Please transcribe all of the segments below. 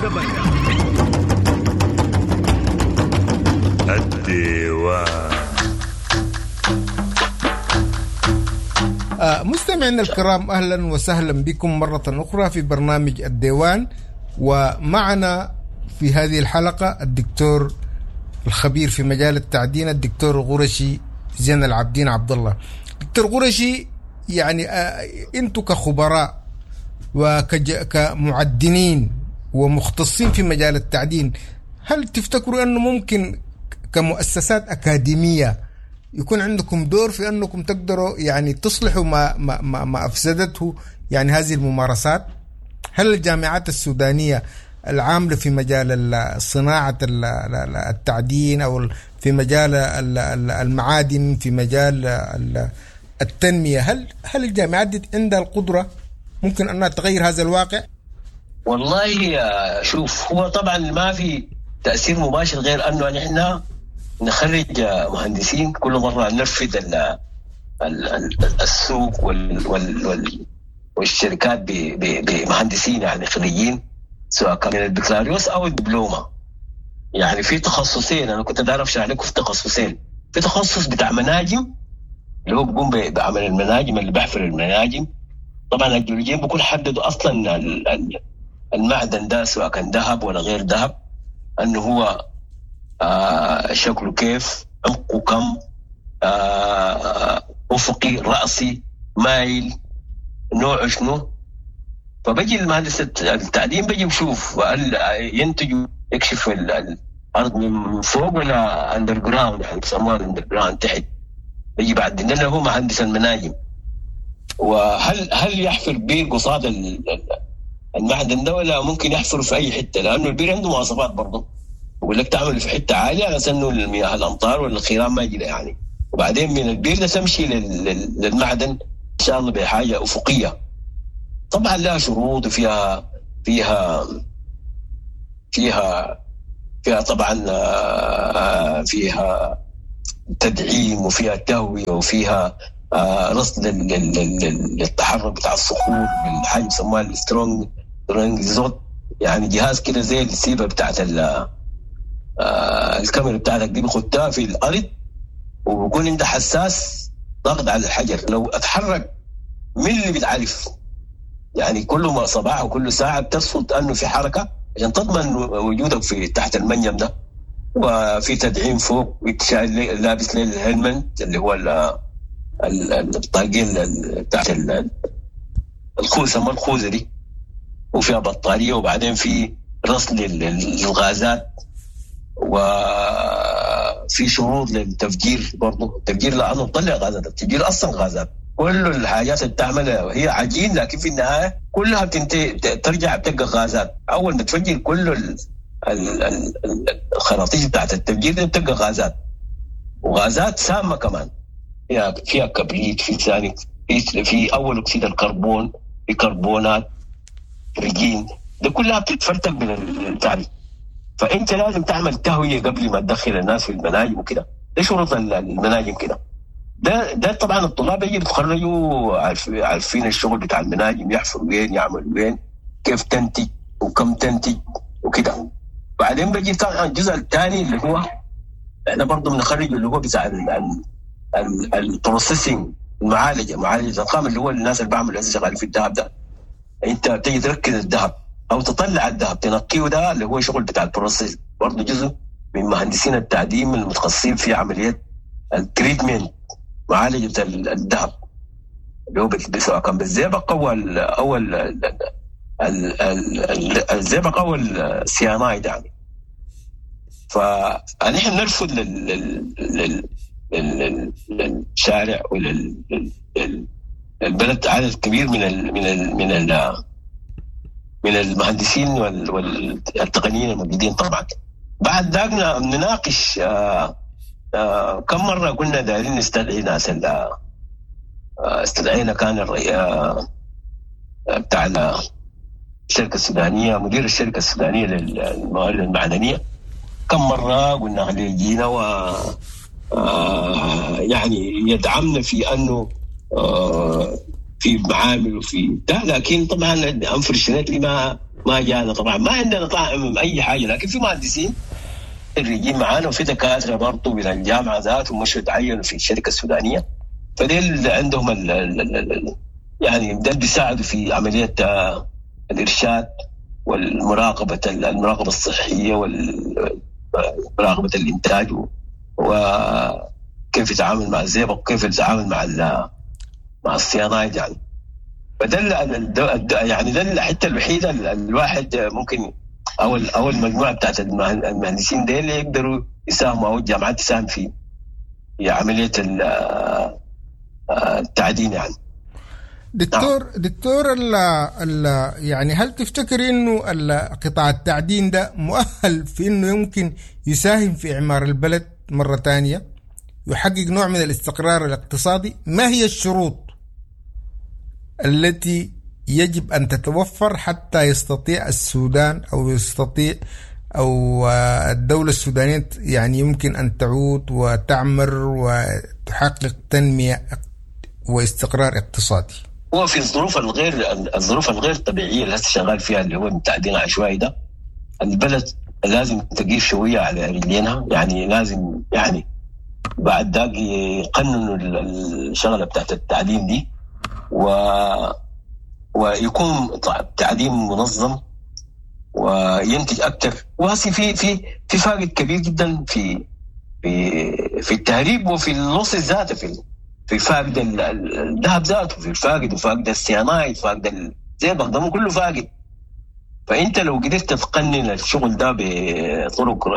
الشبكة. الديوان. مستمعينا الكرام، اهلا وسهلا بكم مرة اخرى في برنامج الديوان، ومعنا في هذه الحلقة الدكتور الخبير في مجال التعدين الدكتور قرشي زين العابدين عبد الله. دكتور قرشي، يعني انتم كخبراء وكمعدنين ومختصين في مجال التعدين، هل تفتكروا انه ممكن كمؤسسات اكاديمية يكون عندكم دور في انكم تقدروا يعني تصلحوا ما افسدته يعني هذه الممارسات؟ هل الجامعات السودانية العاملة في مجال صناعة التعدين او في مجال المعادن، في مجال التنمية، هل الجامعات دي عندها القدرة ممكن انها تغير هذا الواقع؟ والله شوف، هو طبعا ما في تاثير مباشر غير انه نحن نخرج مهندسين كل مرة ننفذ السوق والشركات بمهندسين يعني خريجين، سواء كان من البكالوريوس او الدبلومه. يعني في تخصصين، انا كنت بعرف اشرح لكم في تخصصين. في تخصص بتاع مناجم اللي هو بيقوم بعمل المناجم، اللي بيحفر المناجم. طبعا الجيولوجيين بيكون حددوا اصلا المعدن ده سواء كان ذهب ولا غير ذهب، انه هو شكله كيف، عمقه كم، افقي، راسي، مايل، نوعه شنو. فبجي المهندس التعدين بيجي بشوف هل ينتج يكشف الارض من فوق ولا underground، يعني بيسموها underground تحت. بيجي بعد لانه هو مهندس المناجم. وهل يحفر بير قصاد المعدن ده ولا ممكن يحفر في اي حتة؟ لانه البير عنده مواصفات برضه، بقول لك تعمل في حتة عالية على اساس انه المياه الامطار ولا الخيران ما يجي يعني. وبعدين من البير ده تمشي للمعدن ان شاء الله بحاجة افقية. طبعا لها شروط وفيها فيها فيها فيها طبعا فيها تدعيم وفيها تهوية وفيها رصد للتحرك بتاع الصخور بالحاجة بيسموها ال strong زوت، يعني جهاز كده زي السيبه بتاعت الكاميرا بتاعتك دي، بيخدها في الارض وبيكون عندها حساس ضغط على الحجر، لو اتحرك ملي بتعرف. يعني كل ما صباح وكل ساعة بترصد انه في حركة عشان تضمن وجودك في تحت المنجم ده. وفي تدعيم فوق، لابس ال helmet اللي هو الطاقية بتاعت الخوذه، ما الخوذه دي، وفيها بطارية. وبعدين في رصد للغازات، وفي شروط للتفجير برضه. التفجير لانه بطلع غازات، التفجير اصلا غازات. كل الحاجات اللي بتعملها هي عجين، لكن في النهاية كلها بتنتهي ترجع بتبقى غازات. اول ما تفجر كل الخراطيش بتاعت التفجير دي بتبقى غازات، وغازات سامة كمان، فيها كبريت، في ثاني، في اول اكسيد الكربون، في كربونات، رجين، ده كلها بتتفرتك من البتاع. فانت لازم تعمل تهوية قبل ما تدخل الناس في المناجم وكده. ده شروط المناجم كده. ده طبعا الطلاب يجي بيتخرجوا عارفين الشغل بتاع المناجم، يحفر وين، يعمل وين، كيف تنتج وكم تنتج وكده. بعدين بيجي طبعا الجزء الثاني اللي هو احنا برضه بنخرج اللي هو بتاع ال processing، المعالجة، معالجة الخام، اللي هو الناس اللي بعملوا شغالين في الذهب ده. انت بتيجي تركز الذهب او تطلع الذهب تنقية، ده اللي هو شغل بتاع ال process، برضه جزء من مهندسين التعدين المتخصصين في عملية ال treatment، معالجة الذهب، اللي هو سواء كان بالزئبق او الزئبق او السيانايد يعني. فنحن نرفض للشارع وللبلد عدد كبير من ال من ال من ال من المهندسين والتقنيين الموجودين. طبعا بعد ذاك نناقش كم مرة قلنا دايرين نستدعي ناس، استدعينا كان بتاع الشركة السودانية، مدير الشركة السودانية للموارد المعدنية، كم مرة قلنا خليه يجينا و يعني يدعمنا في انه في معامل وفي ده، لكن طبعا unfortunately ما جانا طبعا، ما عندنا طبعا اي حاجة، لكن في مهندسين خريجين معانا وفي دكاترة برضه من الجامعة ذاتهم مشوا تعينوا في الشركة السودانية، فديل عندهم ال ال ال يعني ديل بيساعدوا في عملية الارشاد والمراقبة، المراقبة الصحية ومراقبة الانتاج وكيف يتعامل مع الزئبق وكيف يتعامل مع الصيانات يعني. فده يعني ده الحتة الوحيدة الواحد ممكن او المجموعة بتاعت المهندسين ديل يقدروا يساهموا او الجامعات تساهم في عملية التعدين يعني. دكتور ال ال يعني هل تفتكر انه قطاع التعدين ده مؤهل في انه يمكن يساهم في اعمار البلد مرة ثانية، يحقق نوع من الاستقرار الاقتصادي؟ ما هي الشروط التي يجب أن تتوفر حتى يستطيع السودان أو يستطيع أو الدولة السودانية يعني يمكن أن تعود وتعمر وتحقق تنمية واستقرار اقتصادي؟ هو في الظروف الغير طبيعية اللي هسه شغال فيها اللي هو التعدين العشوائي ده، البلد لازم تقيف شوية على رجلينها يعني، لازم يعني بعد ذاك يقننوا الشغلة بتاعت التعدين دي ويكون تعدين منظم وينتج اكثر. وهسه في في في فاقد كبير جدا في في في التهريب وفي اللص ذاته، في فاقد الذهب ذاته، في الفاقد وفاقد السيانايد، فاقد الزئبق ده كله فاقد. فانت لو قدرت تقنن الشغل ده بطرق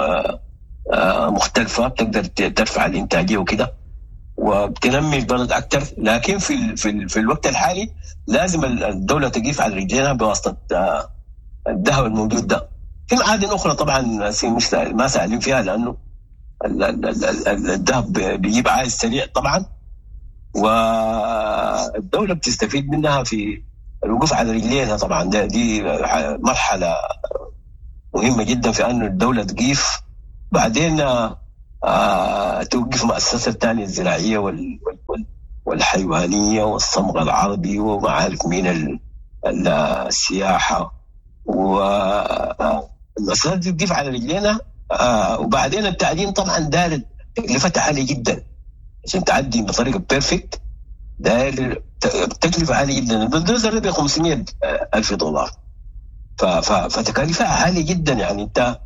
مختلفة بتقدر ترفع الانتاجية وكده وبتنمي البلد اكثر. لكن في في في الوقت الحالي لازم الدولة تقيف على رجلينها بواسطة الذهب الموجود ده. في معادن اخرى طبعا مش ما سالين فيها لانه الذهب بيجيب عائد سريع طبعا، والدولة بتستفيد منها في الوقوف على رجلينها طبعا. دي مرحلة مهمة جدا في انه الدولة تقيف، بعدين توقف مؤسسة الثانية الزراعية والحيوانية والصمغ العربي وما عارف مين السياحة، والمؤسسات دي تقف على رجلينا. وبعدين التعدين طبعا داير تكلفتها عالية جدا عشان تعدي بطريقة perfect، داير تكلفة عالية جدا. البلدوزر ده ب 500,000 دولار، فتكاليفها عالية جدا يعني. انت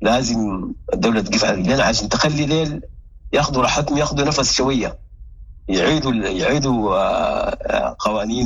لازم الدولة تقف على رجلينا عشان تخلي ديل ياخذوا راحتهم، ياخذوا نفس شوية، يعيدوا قوانين.